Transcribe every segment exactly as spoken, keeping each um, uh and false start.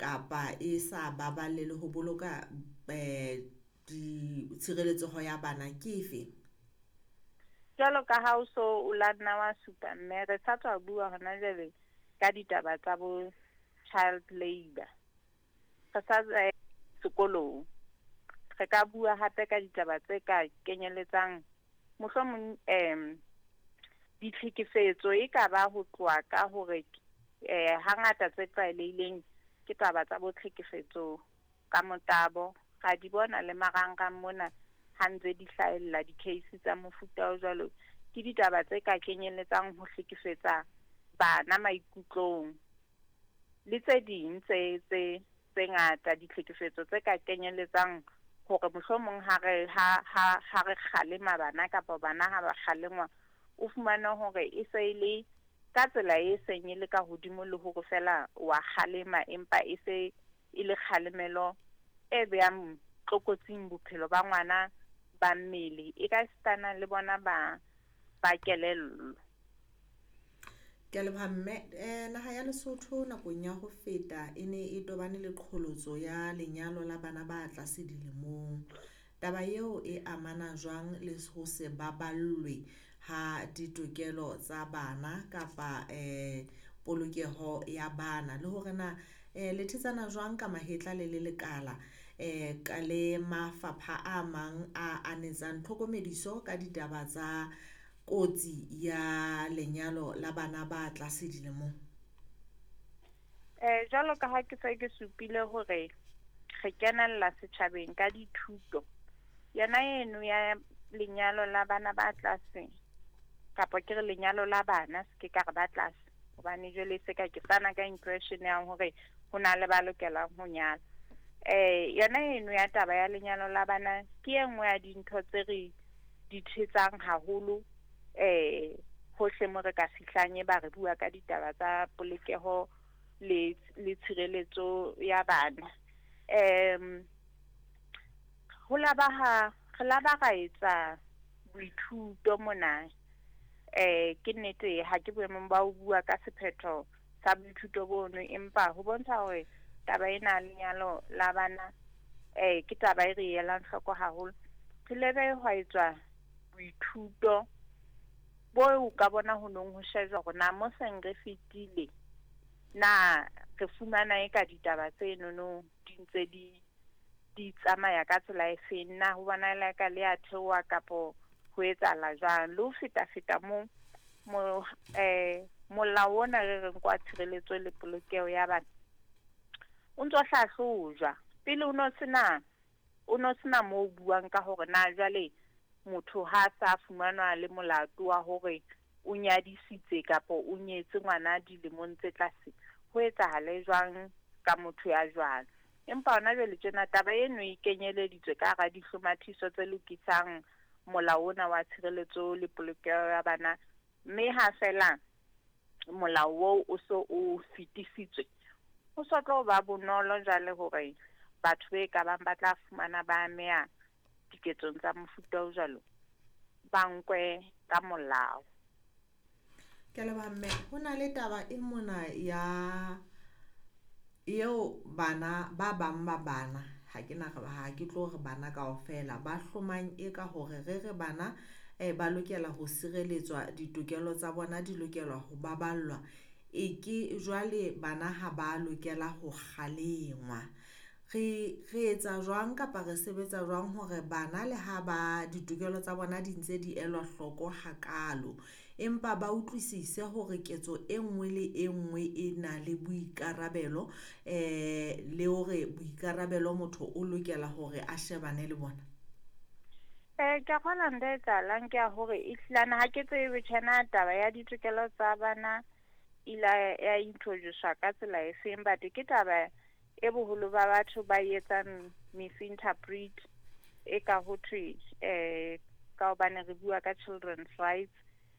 kapa e sa baballe le ho boloka eh di tshireletseho ya bana ke efe? Jwalo ka ha o so o la nna wa supa, mme re sa tswa bua hona jwale ka ditaba tsa bo child labour. Re sa eh, sekolong. Re ka bua hape ka ditaba tse ka kenyeletsang mohlomong em ditlhekefetso e ka ba ho tloha ka hore eh hangata tse tlwaelehileng ke taba tsa bo tlhekefetso ka motabo. Ra di bona le marangrang mona ha ntse di hlahella di-case tsa mofuta o jwalo. Ke ditaba tse ka kenyelletsang ho hlekefetsa bana maikutlong le tse ding tse tse tse ngata, ditlhekefetso tse ka kenyelletsang hore mohlomong ha re ha ha ha re kgalema bana kapa bana ha ba kgalengwa, o fumane hore e se e le ka tsela e seng e le ka hodimo le hore fela wa kgalema, empa e se e le kgalemelo e behang tlokotsing bophelo ba ngwana ba mmele, e ka sitana le bona ba ba kelello. Ke a leboha mme. Eh naha ya Lesotho nakong ya ho feta e ne e tobane le qholotso ya lenyalo la bana ba tlase dilemong. Taba eo e amana jwang le ho se baballwe ha ditokelo tsa bana kapa eh polokeho ya bana, le hore na eh le thetsana jwang ka mahetla le le lekala eh ka le mafapha a mang a anetsang tlhokomediso ka ditaba tsa kotsi ya lenyalo la bana ba tlase dilemong? Eh jwalo ka ha ke se ke supile hore re kenella setjhabeng ka dithuto, yona eno ya lenyalo la bana ba tlase, kapa ke re lenyalo la bana, se ke ka re ba tlase, hobane jwale se ka ke fana ka impression ya hore ho na le ba lokelang ho nyala. Eh yona eno ya taba ya lenyalo la bana ke e nngwe ya dintho tse re di thetsang haholo eh hohle mo re ka fihlang, e ba re bua ka ditaba tsa polokeho le le tshireletso ya bana. Em ho la ba ha re la ba ra etsa boithuto mona. Eh ke nnete ha ke boemong ba ho bua ka sephetho sa boithuto bono, empa ho bontsha hore taba ena ya lenyalo la bana eh ke taba e re elang hloko haholo. Re ile be hwa etswa boithuto bo ka bona ho nong ho shejwa hore na mo seng re fetile na re fumana e ka ditaba tse nono di ntse di di tsamaya ka tsela e feng, na ho bonahala ka le a theoha kapo ho etsahala jwang. Le ho feta feta mo mo eh molao ona re reng kwa tshireletso le polokeho ya bana o ntso hlahlojwa. Pele o no sena o no sena mo o buang ka hore na jwale motho ha sa fumanwa le molato wa hore o nyadisitse kapa o nyetse ngwana dilemong tse tlase, ho etsahale jwang ka motho ya jwalo. Empa hona jwale tjena taba eno e kenyeleditswe ka hara dihlomathiso tse lokisang molao ona wa tshireletso le polokeho ya bana, mme ha fela molao oo o so o fetisitswe, ho so tlo ba bonolo jwale hore batho be ka bang ba tla fumana ba ameha diketsong tsa mofuta o jwalo ba nkwe ka molao. Ke a leboha mme. Ho na le taba e mona ya eo bana ba bang ba bana, ha ke na ha ke tlo re bana kaofela, ba hlomang e ka hore re re bana eh ba lokela ho sireletswa, ditokelo tsa bona di lokelwa ho baballwa, e ke jwale bana ha ba lokela ho kgalengwa. Re re etsa jwang kapa re sebetsa jwang hore bana le ha ba ditokelo tsa bona di ntse di elwa hloko hakalo, empa ba utlwisise hore ketso e nngwe le e nngwe e na le boikarabelo eh le hore boikarabelo motho o lokela hore a shebane le bona? Eh ke a kgolwa ntho e etsahalang ke ya hore ehlilane ha ke tsebe tjhena taba ya ditokelo tsa bana ila ya introduce-wa ka tsela e feng, but ke taba e boholo ba batho ba etsang misinterpret e ka ho thwe eh ka hobane re bua ka children's rights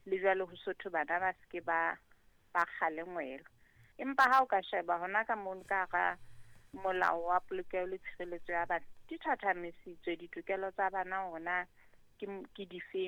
le jwale ho sotho bana ba seke ba ba kgalengwelwa. Empa ha o ka sheba hona ka mono ka hara molao wa polokeho le tshireletso ya bana, di thathamisitswe ditokelo tsa bana hore na ke ke difeng.